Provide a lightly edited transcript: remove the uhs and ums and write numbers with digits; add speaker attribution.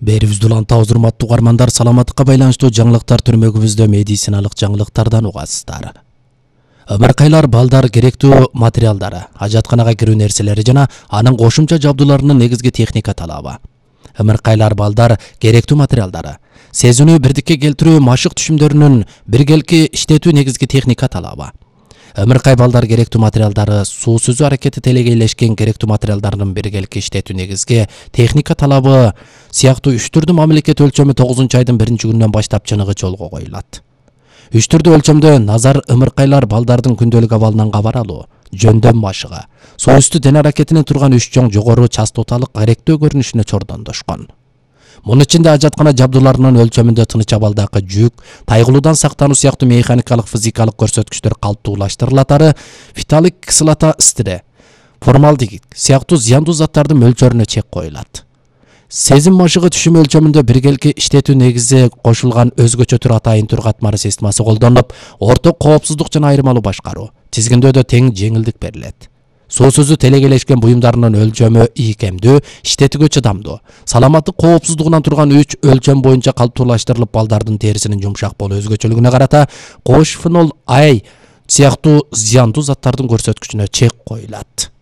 Speaker 1: Берибизди улантабыз, урматтуу угармандар, саламаттыкка байланыштуу жаңылыктар түрмөгүбүздө медициналык жаңылыктардан угасыздар. Ымыркайлар балдар керектүү материалдары, ажатканага кирүү нерселери жана анын кошумча жабдууларынын негизги техника талабы. Ымыркайлар балдар керектүү материалдары, сезүүнү бирдикке келтирүү машык түшүмдөрүнүн биргелки иштетүү негизги техника талабы. Ымыркай балдар керектүү материалдары, суу сүзүү аракети телегейлешкен керектүү материалдардын биргелки иштетүү негизги техника талабы сыяктуу 3 түрдүү мамлекет өлчөмү 9-айдын 1-күнүнөн баштап чыныгы жолго коюлат. 3 түрдүү өлчөмдө назар ымыркайлар балдардын күндөлүк абалынан кабар алуу, жөндөм машыгы, суу үстү дене аракетинин турган 3 чоң жогору частоталык керектүү көрүнүшүнө чордондошкон. Мунун ичинде ажаткана жабдууларынын өлчөмүндө тыныч абалдагы жүк, тайгылуудан сактануу сыяктуу механикалык, физикалык көрсөткүчтөр калыптуулаштырылатары, фиталик кислота стире, формалдегид сыяктуу зыяндуу заттардын мөлчөрүнө чек коюлат. Сезим машыгы түшүм өлчөмүндө биргелки иштетүү негизи кошулган өзгөчө түр атайын түр катмары системасы колдонулуп, орток коопсуздук жана айырмалуу башкаруу, тизгиндөөдө тең жеңилдик берилет. Суу сүзүү телегейлешкен буюмдарынын өлчөмү ийкемдүү, иштетүүгө чыдамдуу, саламаттык коопсуздугунан турган 3 өлчөм боюнча калыптуулаштырылып, балдардын терисинин жумшак болуу өзгөчөлүгүнө карата кош фенол А сыяктуу зыяндуу заттардын көрсөткүчүнө чек коюлат.